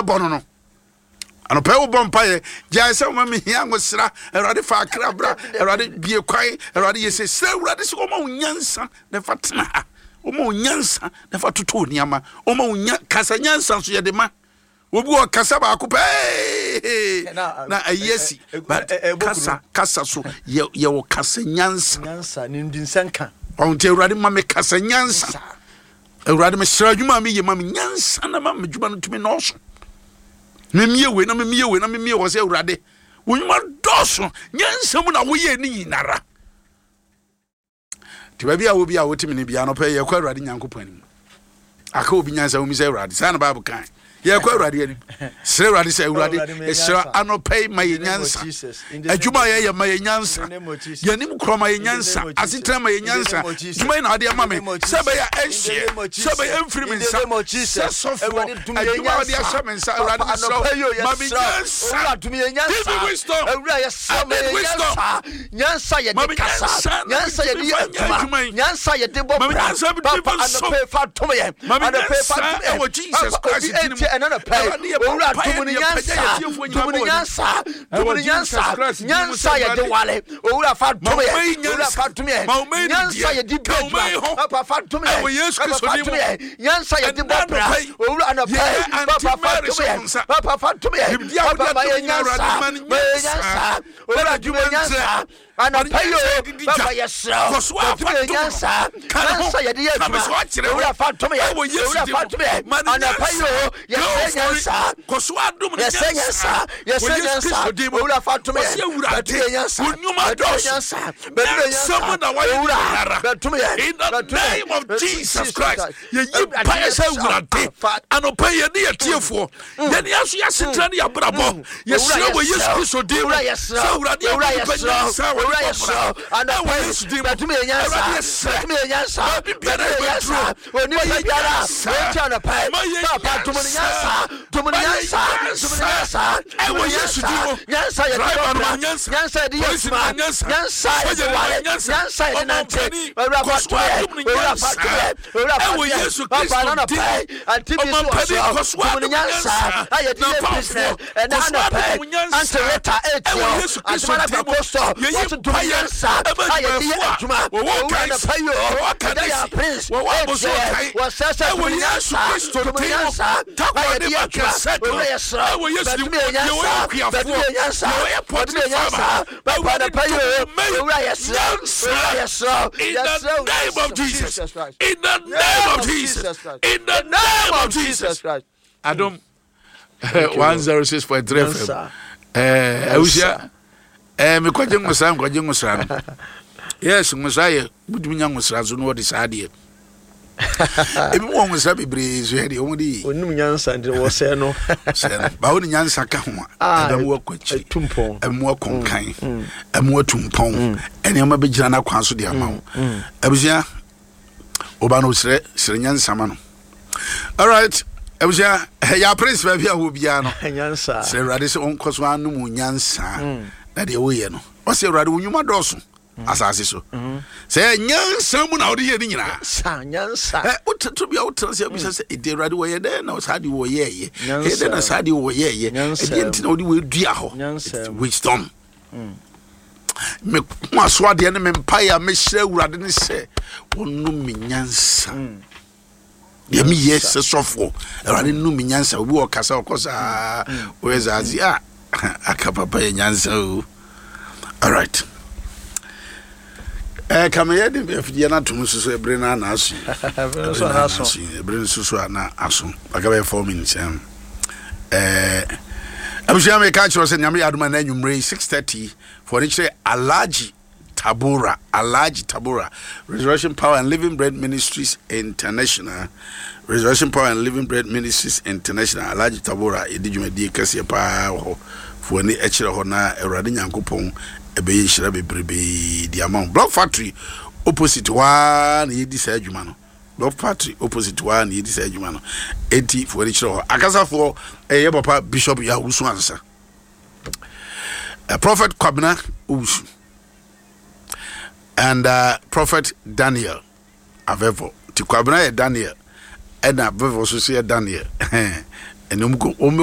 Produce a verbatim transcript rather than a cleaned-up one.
Ɛbɔ no no anɔpɛ wobɔ mpayɛ gyae sɛ woma mehia ngosra. Awurade, fa akra bra. Awurade, bie kwan. Awurade, yɛ sɛ srɛ Awurade sɛ wɔma wo nyansa na fa tena ha, wɔma wo nyansa na fa toto nneɛma, wɔma wo nya kasa nyansa nso yɛde ma obi wɔ kasa baako pɛɛ na ayi asi, but kasa kasa so yɛ yɛwɔ kasa nyansa. Nyansa ne ndinsa nka. Ɔho nti, Awurade, ma me kasa nyansa. Awurade, mesrɛ, adwuma a meyɛ, ma me nyansa na ma me adwuma no tumi nɔɔso. Memie wei na memie wei na memie wɔ sɛ, Awurade, wo nnwuma dɔɔso, nyansa mu na woyɛ ne nyinara. Nti baabi a wo bi a wotumi ne bia no pɛ, yɛkɔ Awurade Nyankopɔn anim aka obi nyansa womi sɛ Awurade saa na Bible kan. Yɛkɔ Awurade anim srɛ Awurade sɛ, Awurade, yɛsrɛ anɔpɛ yi, ma yɛ nyansa. Adwuma a yɛyɛ, ma yɛ nyansa. Yɛnim korɔ, ma yɛ nyansa. Asetena, ma yɛ nyansa. Dwuma yi na ade ama me sɛ bɛyɛ ɛnhyeɛ, sɛ bɛyɛ ɛmfiri me nsa sɛ sɔfoɔ, adwuma a wɔde ahyɛ me nsa, Awurade, mesrɛ, ma me nyansa. Give me wisdom. Awura, I need wisdom. Nyansa Ma yɛde me kasa, nyansa na nyansa yɛde metumi yɛ fa nyɛ adwuma adwuma yi. Nyansa yɛde bɔ Ma me bra. nyansa metumi Papa, fa nsom. anɔpɛ fa dom yɛn. Ma me Anɔpɛ fa nyansa dom yɛn. ɛwɔ Jesus Papa, Christ obi din mu. etie ɛna nɔpɛ. Awurade, yɛbɔ Owura, mpaeɛ dom ne ne yɛpagya nyansa. yɛn atiefoɔ nyinaa Dom ne bɔ w'anim. nyansa, dom Ɛwɔ ne Jesus nyansa. Christ din mu Nyansa sɛ yɛde Awurade, wale. Owura, fa ma dom wo yɛn. mma yi Owura, nyansa. fa dom yɛn. Ma wo mma yi Nyansa nimdeɛ. yɛde bi Ka wo mma yi adwuma. ho. Papa, fa dom yɛn. Ɛwɔ Yesu Papa, Kristo fa din dom mu. yɛn. Nyansa yɛde Ɛnnɛ bɔ bra. anɔpa yi, Owura, anɔpɛ yɛyɛ yi, Auntie papa, fa Mary dom hyɛ yɛn. wo nsa. Papa, fa dom yɛn. Nimdeɛ a wode Papa, ma adom yɛn nyinaa, nyansa. Awurade, ma no Ma yɛn nyansa. nyansa. Ma Owura, no dom yɛn adwuma nyansa ntrɛ. anɔpa yi nyansa o. yɛde di Papa, dwa. yɛsrɛ Kɔ so a wo, fa dom yɛn dom no. nyansa. Ka ne ho. Nyansa yɛde yɛ Ka me adwuma. so akyerɛ ho. Owura, fa dom yɛn. Ɛwɔ Yesu Owura, din fa mu. dom yɛn Ma no anɔpa yi o. Yɛsrɛ Go for it. nyansa. Kɔ so adom no Yɛsɛ nyansa, Wɔ yɛsɛ Yesu nyansa. Kristo din mu. Owura, fa dom Ɔse, yɛn. Awurade, Bɛdom yɛn nyansa. wo nnwuma Bɛdom yɛn dɔɔso. nyansa, bɛdom yɛn Nyansa mu nyansa. na wayɛ Owura, nyinara. bɛdom yɛn. In the Bɛdom yɛn. name of Jesus Christ, yɛyi Awurade, mpaeɛ sɛ yɛsrɛ wo. Awurade, Fa- anɔpa yi, yɛne yɛtiefoɔ, yɛne aso yɛasetena ne yɛabrabɔ, yɛsrɛ wɔ Yesu Kristo din mu Owura, yɛsrɛ sɛ Awurade Owura, ama nipa yɛsrɛ nyansa a wɔde Owura, bɔ yɛsrɛ bra. Anɔpa Ɛwɔ yi, Yesu din mu. bɛdom yɛn nyansa. Awurade, yɛsrɛ. Bɛdom yɛn nyansa. Baabi biara Bɛdom yɛn yɛbɛduro. nyansa. Onipa Ma yɛn biara nyansa. wɔnti anɔpa yi, Ma yɛn papa, dom ne nyansa, dom ne Ma yɛn nyansa, dom ne nyansa. Ɛwɔ Yesu din mu. Nyansa yɛde Driver bɔ no bra. ma nyansa. Nyansa yɛde yɛ Polisi no adwuma. ma nyansa. Nyansa yɛde Sogya no ma wale. nyansa. Nyansa yɛde nante. Ɔmampanin, Owura, kɔ fa so dom yɛn. adom no Owura, fa nyansa. dom yɛn. Owura, fa Ɛwɔ dom yɛn. Yesu Papa, Kristo na din anɔpa mu. yi, ante bi so wɔ Ɔmampanin, so kɔ so dom ne adom nyansa nyansa. a yɛde yɛ N'apamfoɔ, business ɛna kɔ so anɔpa adom yi, wo nyansa. Auntie Rita Ɛwɔ etie Yesu Kristo Adumana din mu. Kɔkɔ Yɛyi wɔso dom mpaeɛ nyansa ɛma a yɛde yɛ adwumayɛfoɔ a adwuma. wɔwɔ Owura, Kaes, anɔpa yi o, wɔwɔ ɛda yɛ Kanesi, Prince wɔwɔ Aboso etie Kan. wɔsɛ sɛ Ɛwɔ dom Yesu nyansa, Kristo dom din mu. nyansa a Takoradi yɛde yɛ Market adwuma. Circle. Owura, yɛsrɛ Ɛwɔ Yesu din bɛdom mu. yɛ Yɛwɔ nyansa, akuafoɔ. bɛdom yɛ nyansa, Yɛwɔ bɛdom poultry yɛ nyansa. farmer. Papa, Awurade, anɔpa yi o, dom me owura, yɛsrɛ, nyansa. owura, yɛsrɛ, In the yɛsrɛ. name of Jesus. Jesus Christ. In the name of Jesus. Christ. In the name of Jesus. Christ. Adom one oh six point three F M. Nyansa. Eh, awusia. Eh, mekɔgye nwosra, nkɔgye nwosra no. Yes, nwosra yɛ wotumi nya nwosra so na wɔde saa adeɛ. Ebi mu wɔ nwosra bebree so yɛ deɛ wɔn de yi. Onim nyansa nti wɔsɛɛ no. Sɛ no bawo ne nyansa ka ho a, Ah, ɛbɛn mu akɔ akyiri. ɛtu mpɔn. Ɛbɛn mu akɔ nkan, ɛmu atu mpɔn, ɛnneɛma bɛgyina n'akwan so de ama wo. Abusua, ɔba no srɛ srɛ nyansa ma no. Alright, abusua, yɛ Prince, baabi a wɔ biara no, nyansa. Srɛ Awurade sɛ ɔnkɔ so anom wo nyansa na deɛ woyɛ no, ɔsɛ Awurade, wo nnwuma dɔɔso asase so, sɛ nyansa mu na wode yɛ ne nyinaa. Sa nyansa. Ɛ, wototo bia wotena sɛ bisa sɛ, ɛdi Awurade, wɔyɛ dɛn na saa deɛ wɔyɛɛyɛ? Nyansa. Ɛyɛ dɛn na saa deɛ wɔyɛɛyɛ? Nyansa. Ɛdeɛ nti na wode wɔadua hɔ? Nyansa. It's wisdom. Me ko aso adeɛ ne me mpaeɛ a mehyerɛ Awurade ne sɛ wɔnom me nyansa. Deɛ meyɛ sɛ sɔfoɔ, Awurade, nom me nyansa. Obi wɔ kasa ɔkɔ saa wɔyɛ saa ase a aka papa yɛ nyansa o. Alright, ɛɛ kameyɛ de afidie no atom nso so ɛbere no ana aso yi. Ɛbere no so ana aso. Ɛbere no nso so ana aso, aka bɛyɛ four minutes. ɛm ɛɛ abusua, meka kyerɛ sɛ Nyame yɛ adoma na anwummerɛ yi six thirty fɔ ne kyerɛ Alhaji Tabora, Alhaji Tabora, Resurrection Power and Living Bread Ministries International, Resurrection Power and Living Bread Ministries International, Alhaji Tabora yɛdi dwumadie kɛseɛ paa wɔ hɔ. Fo ani kyerɛ hɔ na Awurade Nyankopɔn ɛbɛyɛ nhyira bebrebee di ama wo. Block Factory opposite hɔ ara na yɛdi saa adwuma no. Block Factory opposite hɔ ara na yɛdi saa adwuma no, enti fo ani kyerɛ hɔ. Akasafoɔ ɛyɛ papa Bishop Yawusu Ansa, uh, Prophet Kwabena Owusu and uh, Prophet Daniel Avevo. Nti Kwabena yɛ Daniel, ɛna Avevo nso so yɛ Daniel, ɛna ɔmo kɔ ɔmo.